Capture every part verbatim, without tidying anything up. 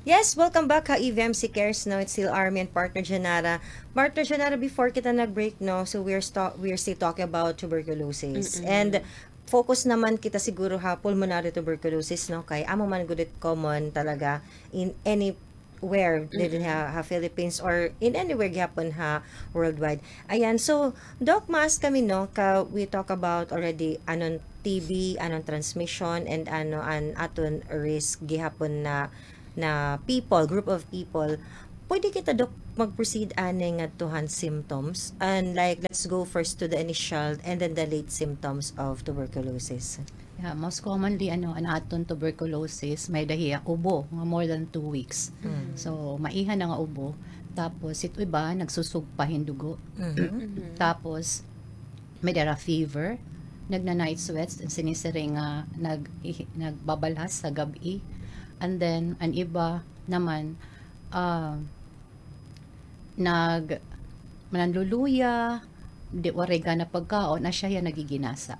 Yes, welcome back ha E V M C Cares, no? It's still Army and partner Janara. Partner Janara, before kita nag-break, no? So we're sta-, we're still talking about tuberculosis. Mm-mm. And focus naman kita siguro ha pulmonary tuberculosis, no? Kay amo man gud it common talaga in anywhere diri ha, ha Philippines or in anywhere gihapon ha worldwide. Ayan, so, Doc, ma-ask kami, no, ka we talk about already anon T B, anon transmission, and ano an aton risk gihapon na, na people, group of people. Pwede kita, Doc, mag-proceed ani ngadto han symptoms? And like, let's go first to the initial and then the late symptoms of tuberculosis. Yeah, most commonly, ano, an aton tuberculosis, may-ada hiya ubo nga more than two weeks. Mm. So, maiha na nga ubo. Tapos, it iba, nagsusugpa hin dugo. Mhm. Mhm. Tapos, may-ada hira fever, nagna-night sweats, sinisiring nga nag-, ihi-, nagbabalhas sa gab-i. And then, an iba naman, ah, nag-, nanluluya, di, waray gana pagkaon, asya hiya nagiginasa.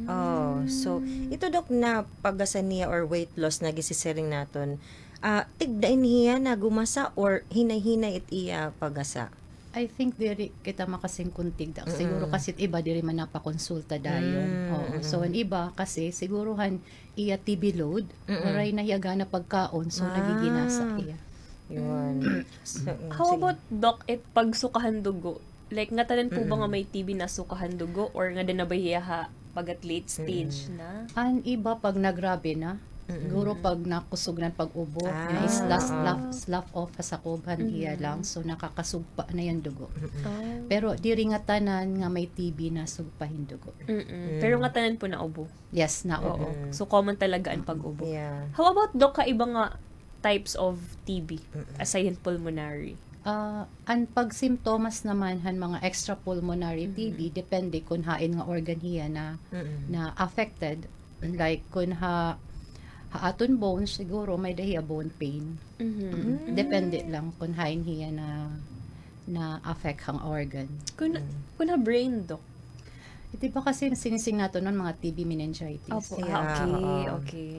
Oh, so, ito, Doc, na paggasa niya or weight loss na ginsiring naton, ah, tigda ini hiya nagumasa or hinay-hinay it iya paggasa? I think diri kita makasiring kon tigda. Siguro kasi it iba diri man napakonsulta dayon. Mm, oo. So, an iba kasi, siguro han iya T B load, waray na hiya gana pagkaon, so nagiginasa hiya. Yun. So, mm, how about, Doc, it pagsuka han dugo? Like, ngatanan po ba nga may T B nasuka han dugo or ngada na ba hiya ha pag-at late stage na? An iba pag nagrabe na, siguro pag nakusog na pag-ubo, na slough, slough off ha sakob han iya lungs, so nakakasugpa na hiya hin dugo. Pero diri ngatanan nga may T B nasugpa hin dugo. Pero ngatanan po naubo? Yes, naubo. Oo. So, common talaga an pag-ubo. Yeah. How about, Doc, ha iba nga types of T B, aside han pulmonary? Ah, an pagsimptomas naman han mga extrapulmonary T B, depende kon hain nga organ hiya na, na affected. Like, kon ha, ha aton bones, siguro may-ada hiya bone pain. Depende lang kon hain hiya na, na-affect han organ. Kon, kon ha brain, Doc? It iba kasi sinisiring naton mga T B meningitis. Opo. Yeah, okay, oo. Okay.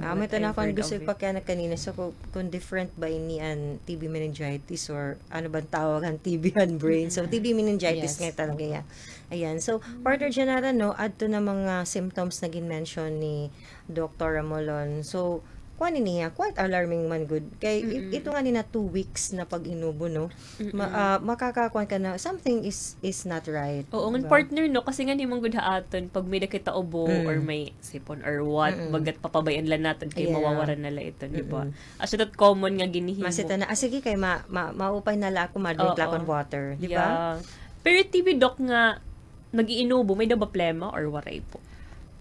Amo ito na akon gusto ipakiana kanina. So, kon, kon different ba ini an T B meningitis or ano bang tawag han T B han brain? So, T B meningitis nga talaga hiya. Ayan. So, partner Janara, no, adto na mga symptoms na gin-mention ni Doktor Ramulon. So, kuan ini hiya, quite alarming man gud. Kay it-, ito nga ni na two weeks na pag-inubo, no? Ma-, ah, makakakuan ka na something is, is not right. Oo, ngan partner, no? Kasi nga ni man gud ha aton, pag may-ada kita ubo or may sipon or what, bagat papabay-an la naton kay mawawara na la ito, di ba? Asya that common nga ginhihimo. Masita na, ah, sige, kay ma-, ma-, maupay na la ako, ma-drink la akon water, di ba? Yeah. Pero T B, Doc, nga nag-iinubo, may-ada ba plema or waray po?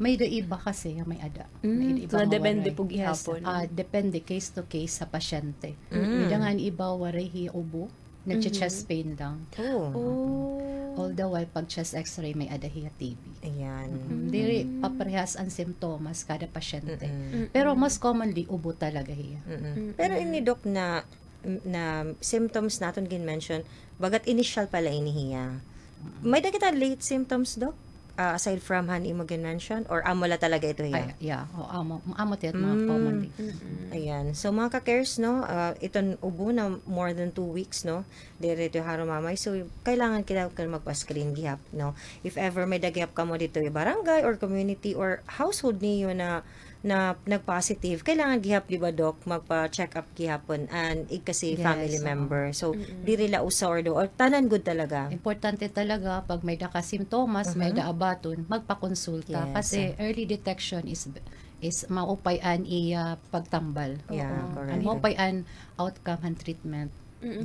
May-ada iba kasi, may-ada. May-ada iba nga waray. So, depende po gihapon. Yes, ah, depende case to case sa pasyente. May-ada nga an iba waray hiya ubo, nagche-chest pain lang. Oh. All the while, pag chest X-ray, may-ada hiya T B. Ayan. Diri paparehas an simptomas kada pasyente. Pero mas commonly, ubo talaga hiya. Pero ini, Doc, na na symptoms naton gin-mention, bagat initial pa la ini hiya. May-ada kita late symptoms, Doc? Ah, aside from han imo gin-mention, or amo la talaga ito hiya? Ay, yeah. O, amo, amo it mga commonly. Ayan. So, mga ka-cares, no, ah, iton ubo na more than two weeks, no, diri ito harumamay. So, kailangan kita magpa-screen gihap, no? If ever may-ada gihap kamo didto ha barangay or community or household niyo na na nag-positive, kailangan gihap, di ba, Doc, magpa-check up gihapon an igkasi family member. So, diri la usa or duha, or tanan gud talaga. Importante talaga, pag may-ada ka simptomas, may-ada abaton, magpakonsulta. Kasi early detection is, is maupay an iya pagtambal. Yeah, correct. An maupay an outcome han treatment.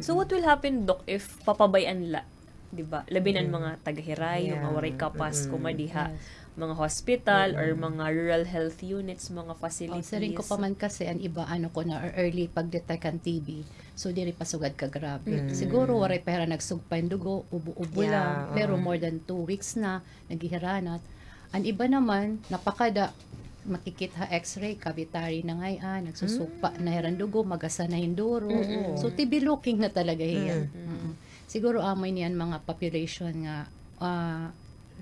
So, what will happen, Doc, if papabay-an la? Di ba? Labi na an mga taga-Hirayo nga waray kapas kumadi ha mga hospital or mga rural health units, mga facilities. O, siring ko pa man kasi an iba, ano ko na, early pag-detect han T B. So, diri pa sugad kagrabe. Siguro, waray pa hira nagsugpa hin dugo, ubo-ubo lang. Pero more than two weeks na, naghihiranat. An iba naman, napakada, makikit ha X-ray, cavitary na ngay-an, nagsusugpa na hira hin dugo, magasa na hin duro. So, T B looking na talaga hiya. Siguro amo ini an mga population nga, ah,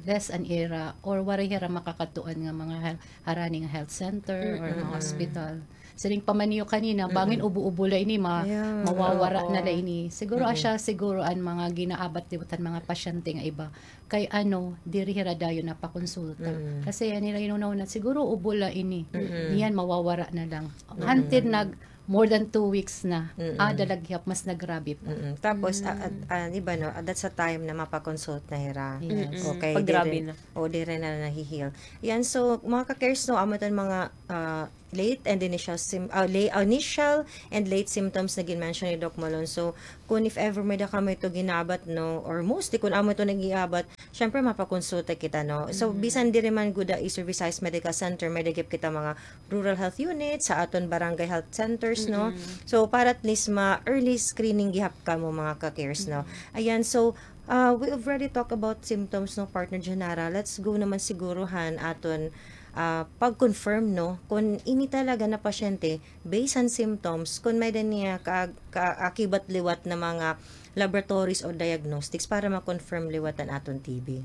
less an ira or waray hira makakadtuan nga mga hel-, harani nga health center or mga hospital. Siring pa man niyo kanina, bangin ubo-ubo la ini, ma-, mawawara na la ini. Siguro asya, siguro an mga ginaabat liwat han mga pasyente nga iba. Kay ano, diri hira dayon napakonsulta. Kasi an ira inuna-una, siguro ubo la ini. Niyan mawawara na lang. Until nag more than two weeks na. Ada la gihap, mas nagrabe pa. Tapos, ah, ah, ah, iba, no, ah, that's a time na mapakonsult na hira. Yes. Okay, pag grabe na. O, diri na nahi-heal. Yan, so, mga ka-cares, no, amo iton mga, ah, late and initial sym-, ah, la-, ah, initial and late symptoms na gin-mention ni Doc Malone. So, kun if ever may-ada kamo ito ginaabat, no, or mostly kun amo ito nag-iiabat, syempre, mapakonsulta kita, no? So, bisan diri man gud ha East Visayas Medical Center, may-ada gihap kita mga rural health unit, sa aton barangay health centers, no? So, para at least ma-early screening gihap kamo, mga ka-cares, no? Ayan, so, ah, we already talk about symptoms, no, Partner Janara. Let's go naman siguro han aton, ah, pag-confirm, no, kun ini talaga na pasyente, based han symptoms, kun may-ada niya ka-, kaakibat liwat na mga laboratories o diagnostics para ma-confirm liwat an aton T B.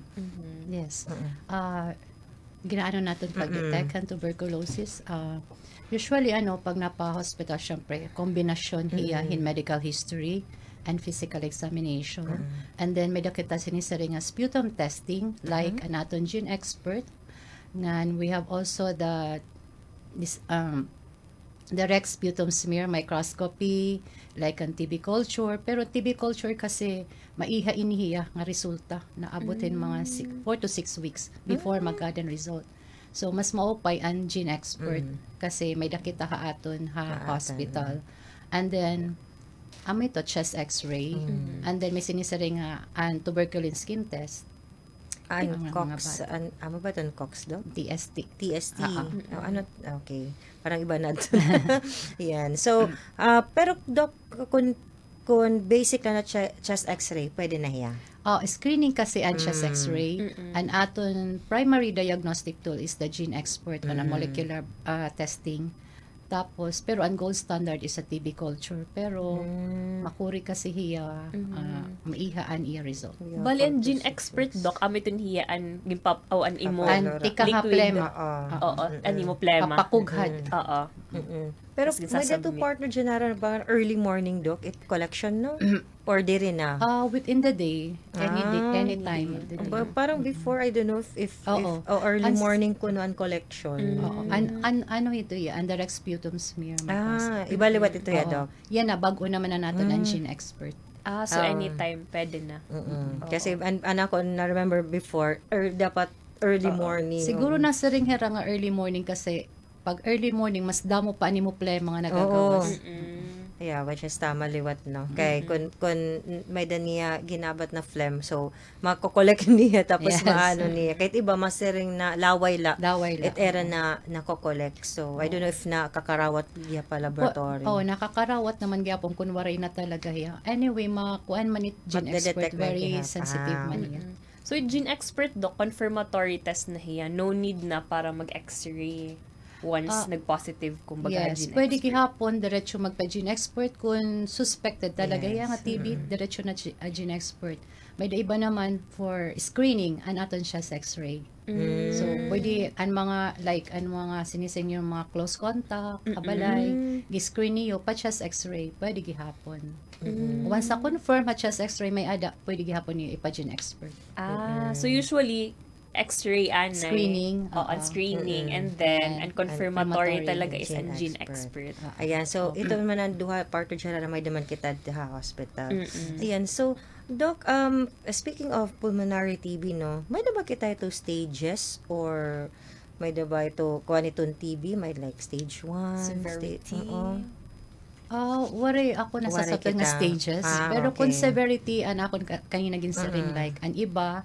Yes. Ah, ginaano naton pag-detect han tuberculosis. Ah, usually, ano, pag napa-hospital, syempre, kombinasyon hiya hin medical history and physical examination. And then, may-ada kita sinisiring nga sputum testing, like an aton GeneXpert. Ngan, we have also the, this, um, direct sputum smear microscopy, like an T B culture. Pero T B culture kasi maiha ini hiya nga resulta. Naabot hin mga si-, four to six weeks before magkaada hin result. So, mas maupay an GeneXpert kasi may-ada kita ha aton ha hospital. And then, amo ito, chest x-ray. And then, may sinisiring nga an tuberculin skin test. An COX, an, amo ba iton COX, Doc? T S T. T S T. Ah, ah. O, ano, okay. Parang iba na ito. Yan. So, ah, pero, Doc, kun, kun basic la na che-, chest x-ray, pwede na hiya? O, screening kasi an chest x-ray. An aton primary diagnostic tool is the GeneXpert on a molecular, ah, testing. Tapos, pero an gold standard is a T B culture. Pero, makuri kasi hiya, ah, maiha an iya result. Bali, an GeneXpert, Doc, amo iton hiya an ginpap-, o, an imo liquid. An tika ha plema. Oo, an imo plema. Papakughad. Oo. Pero may-ada ito, Partner Janara, ba, early morning, Doc, it collection, no? Or diri na? Ah, within the day. Any day, any time of the day. Ba-, parang before, I don't know if, if, if, o, early morning kuno an collection. Oo. An, an, ano ito, ya, an direct sputum smear microscopy. Ah, iba liwat ito, ya, Doc? Yana, bag-o naman na naton an GeneXpert. Ah, so anytime, pwede na. Kasi an, an ako, na-remember before, er, dapat early morning. Siguro nasiring hira nga early morning kasi pag early morning, mas damo pa an imo plema nga nagagawas. Yeah, which is tama liwat, no? Kay kun, kun may-ada niya ginabat na phlegm, so, mako-collect niya, tapos maano niya. Kahit iba, masiring na laway la. Laway la. It era na nako-collect. So, I don't know if nakakarawat niya pa laboratory. O, nakakarawat naman gihapon kun waray na talaga hiya. Anyway, makuan man it GeneXpert, very sensitive man hiya. So, it GeneXpert, Doc, confirmatory test na hiya. No need na para mag-X-ray once nag-positive, kumbaga, GeneXpert. Yes, pwede gihapon diretso magpa-GeneXpert kun suspected talaga hiya nga T B, diretso na G-, ah, GeneXpert. May-ada iba naman for screening, an aton chest x-ray. So, pwede an mga, like, an mga sinisiring niyo mga close contact, kabalay, gi-screen niyo pa chest x-ray, pwede gihapon. Once na-confirm ha chest x-ray may-ada, pwede gihapon niyo ipa-GeneXpert. Ah, so usually, x-ray anay. Screening, oo, an screening, and then an confirmatory talaga is an GeneXpert. Ayan, so ito man an duha, Partner Janara, may-ada man kita ha hospital. Ayan, so, Doc, um, speaking of pulmonary T B, no, may-ada ba kita ito stages or may-ada ba ito, kuan iton T B, may, like, stage one, severity. Ah, waray ako nasasabtan nga stages. Pero kun severity, an akon ka-, kanina ginsiring, like, an iba,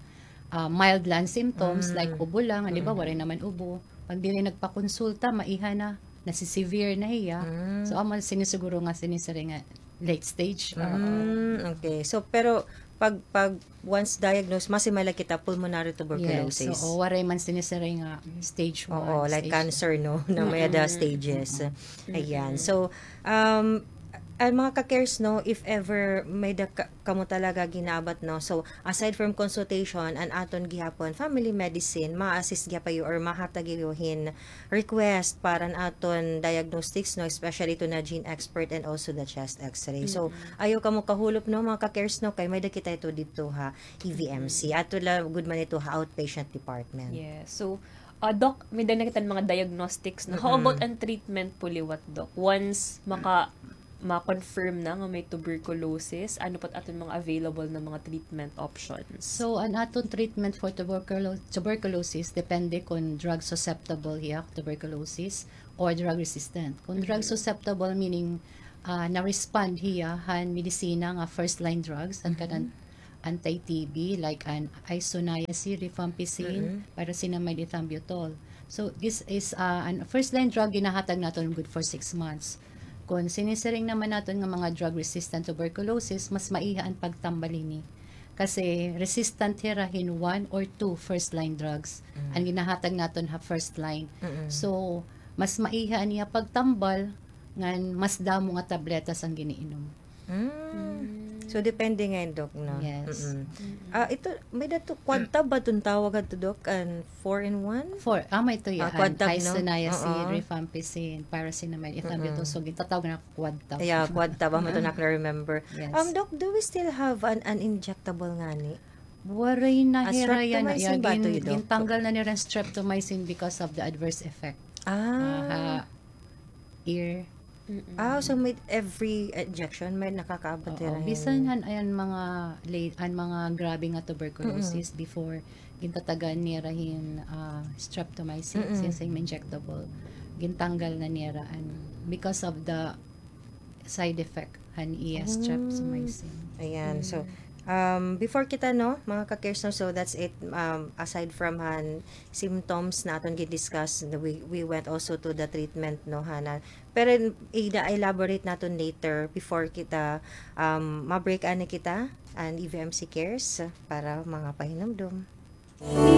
ah, mild lang symptoms, like ubo lang, an iba, waray naman ubo. Pag diri nagpakonsulta, maiha na, nasisevere na hiya. So, amo sinisiguro nga sinisiring nga late stage. Mm, okay. So, pero pag, pag once diagnosed, masimay la kita pulmonary tuberculosis. Yes, oo, waray man sinisiring nga stage one, oo, like cancer, no, na may-ada stages. Ayan. So, um, An mga ka-cares, no, if ever may da ka-, kamo talaga ginaabat, no, so aside from consultation, an aton gihapon family medicine, ma-assist gihapon iyo or mahatag iyo hin request para an aton diagnostics, no, especially to na gene expert and also the chest x-ray. So, ayaw kamo kahulop, no, mga ka-cares, no, kay may da kita ito didto ha E V M C. Ato la gud man ito ha outpatient department. Yes. So, ah, Doc, may da na kita mga diagnostics, no? How about an treatment po liwat, Doc? Once maka-, ma-confirm na nga may tuberculosis, ano po't aton mga available na mga treatment options? So, an aton treatment for tuberculo-, tuberculosis, depende kon drug susceptible hiya, tuberculosis, or drug resistant. Kon drug susceptible, meaning, ah, na-respond hiya han medisina nga first line drugs, an kanan anti-T B, like an isoniazid, rifampicin, pyrazinamide, ethambutol. So, this is, ah, an first line drug ginahatag naton good for six months. Kon sinisiring naman naton nga mga drug resistant tuberculosis, mas maiha an pagtambal hini. Kasi resistant hira hin one or two first line drugs an ginahatag naton ha first line. So, mas maiha an iya pagtambal ngan mas damo nga tabletas an giniinom. So, depende ngay-an, Doc, no? Yes. Ah, ito, may da ito, Quadtab ba iton tawag adto, Doc? An four in one? Four. Ah, may ito, ah, Quadtab, no? Isoniazid, rifampicin, pyrazinamide, ethambutol. So, gintatawag na Quadtab. Yeah, Quadtab. Amo ito na remember. Yes. Um, Doc, do we still have an, an injectable ngani? Waray na hira yana. Streptomycin ba ito, Doc? Gintanggal na nira an streptomycin because of the adverse effect. Ah. Aha. Ear. Ah, so may every injection may nakakaabot hira hin. Bisan han, an mga la-, an mga grabe nga tuberculosis before, gintatagan nira hin, ah, streptomycin, since injectable. Gintanggal na nira an, because of the side effect han iya streptomycin. Ayan, so, um, before kita, no, mga ka-cares, no, so that's it. Um, aside from han symptoms na aton gin-discuss, we, we went also to the treatment, no, hana. Pero ida-elaborate naton later before kita, um, ma-break ani kita, an E V M C Cares para mga pahinumdom.